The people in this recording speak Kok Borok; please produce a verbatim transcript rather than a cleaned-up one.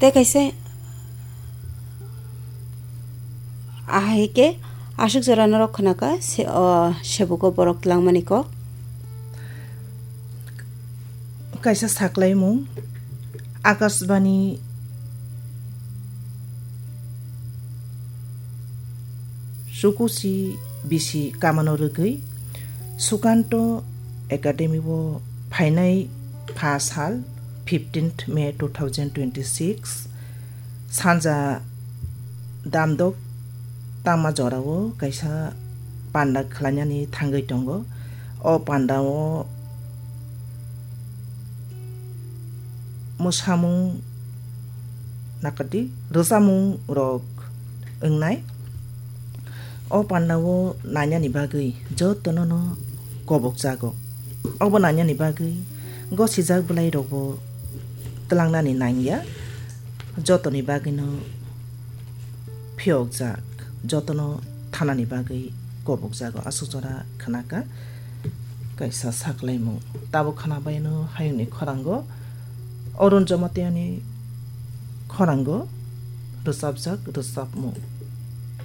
Tei kaisa ahai khe aswk jora norok khwnaka se, o, sebugo borok twlangmani kok. Kaisa saklaimung, Akashbani Chukuchi bisi kamano rwgwi Sukanto Academy o phainai pha sal fifteenth May two thousand twenty-six sanja damdok tangma jorao kaisa panda khlainani thangwi tongo. O pandao mwsamung nakadi rwchapmung rok wngnai. O pandao nainani bagwi jotono no kobok jago. Obo nainani bagwi gosijak bwlai rokbo twlangnani nangya. Jotoni bagwino phiyokjak, jotono thanani bagwi kobokjago. Aswk jora khwnaka kaisa saklaimung. Tabuk khwnabaino hayungni khorango, Arun Jamatia ni khorango rwchapjak rwchapmung.